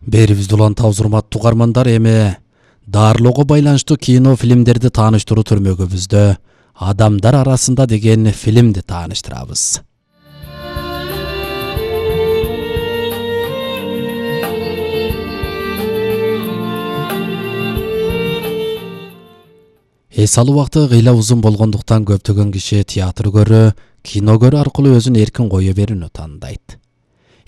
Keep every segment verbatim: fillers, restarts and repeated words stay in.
Берибизде улантабыз урматтуу угармандар, эми дарылоого байланыштуу кино фильмдерди тааныштыруу түрмөгүбүздө Адамдар арасында деген фильмди тааныштырабыз. Эс алуу убакыты кыйла узун болгондуктан көптөгөн киши театр көрүү, кино көрүү аркылуу өзүн эркин кое берүүнү тандайт.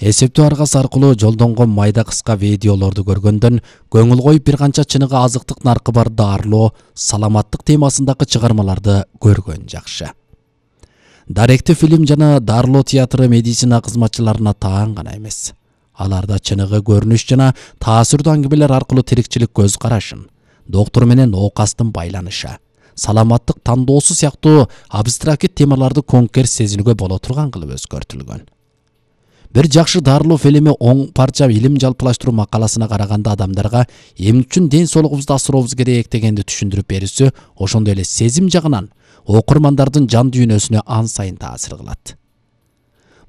Эсептөө аргасы аркылуу жолдонгон майда кыска видеолорду көргөндөн көңүл коюп бир канча чыныгы азыктык наркы бар дарылоо, саламаттык темасындагы чыгармаларды көргөн жакшы. Даректүү фильм жана дарылоо театры медицина кызматчыларына таан гана эмес. Аларда чыныгы көрүнүш жана таасирдүү аңгемелер аркылуу тирикчилик көз карашын, доктор менен оокастын байланышы, саламаттык тандоосу сыяктуу абстракт темаларды конкер сезинүүгө боло турган кылып өзгөртүлгөн. Бир жакшы дарылоо фильми оң парча илим жалпылаштыруу макаласына караганда адамдарга эмне үчүн ден соолугубузду асырообуз керек дегенди түшүндүрүп берүүсү ошондой эле сезим жагынан окурмандардын жан дүйнөсүнө ан сайын таасир кылат.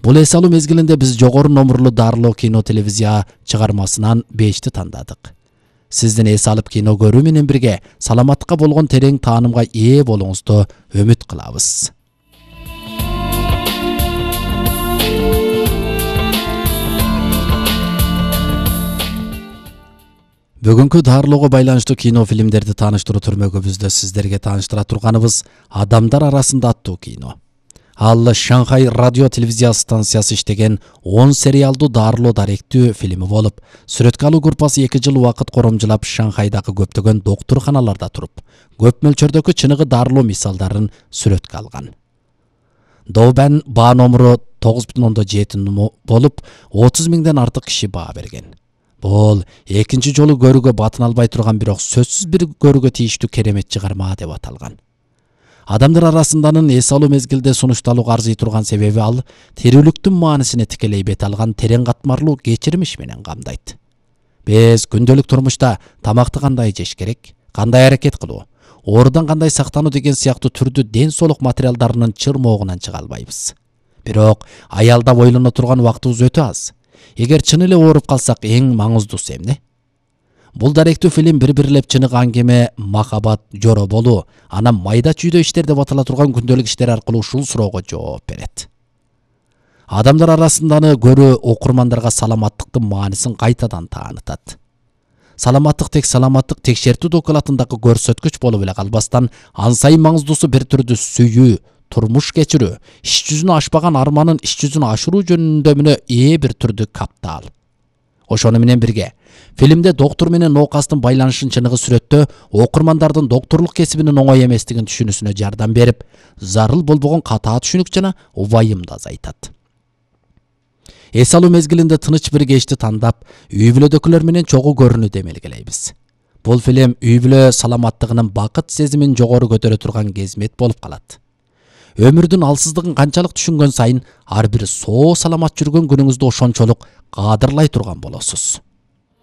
Бул эс алуу мезгилинде биз жогору номурлуу дарылоо кино телевизия чыгармасынан бешти тандадык. Сиздин эс алып кино көрүү менен бирге саламаттыкка болгон терең таанымга ээ болууңузду үмүт кылабыз. Бүгүнкү дарылоого байланыштуу кино фильмдерди тааныштыруу түрмөгүбүздө сиздерге тааныштыра турганыбыз Адамдар арасында аттуу кино. Ал Шанхай радио телевизия станциясы иштеген он сериалдуу дарылоо даректүү фильми болуп, сүрөткө алуу группасы эки жыл убакыт коромжулап Шанхайдагы көптөгөн доктурханаларда туруп, көп мөлчөрдөгү чыныгы дарылоо мисалдарын сүрөткө алган. Добан баа номуру тогуз бүтүн ондон жети болуп, отуз миңден артык киши баа берген. Бул экинчи жолу көрүүгө батын албай турган, бирок сөзсүз бир көрүүгө тийиштүү керемет чыгарма деп аталган. Адамдар арасынданын эс алуу мезгилде сунушталууга арзый турган себеби ал тирүүлүктүн маанисине тикелей бет алган терең катмарлуу кечирмиш менен камдайт. Биз күндөлүк турмушта тамакты кандай жеш керек, кандай аракет кылуу, оорудан кандай сактануу деген сыяктуу түрдүү ден соолук материалдарынын чырмоогунан чыга албайбыз. Бирок аялдап ойлоно турган убактыбыз өтө аз. Эгер чын эле ооруп калсак эң маңыздуусу эмне? Бул даректүү фильм бир-бирлеп чыныгы аңгеме, махабат, жоро болуу, анан майда чүйдө иштер деп атала турган күндөлүк иштер аркылуу ушул суроого жооп берет. Адамдар арасынданы көрүү окурмандарга саламаттыктын маанисин кайтадан таанытат. Саламаттык тек саламаттык текшертүү докладындагы көрсөткүч болуп эле калбастан, ан сайын маңыздуусу бир түрдүү сүйүү, турмуш кечирүү, иш жүзүнө ашпаган арманын иш жүзүнө ашыруу жөнүндө мына ээ бир түрдүү каптал. Ошону менен бирге, фильмде доктор менен оокастын байланышын чыныгы сүрөттөө окурмандардын докторлук кесибинин оңой эместигин түшүнүүсүнө жардам берип, зарыл болбогон катаа түшүнүк жана убайымды азайтат. Эс алуу мезгилинде тыныч бир кечти тандап, үй бүлөдөгүлөр менен чогуу көрүүнү демелгелейбиз. Бул фильм үй бүлө саламаттыгынын бакыт сезимин жогору көтөрө турган кезмет болуп калат. Өмүрдүн алсыздыгын канчалык түшүнгөн сайын ар бир соо саламат жүргөн күнүңүздү ошончолук каадырлай турган болосуз.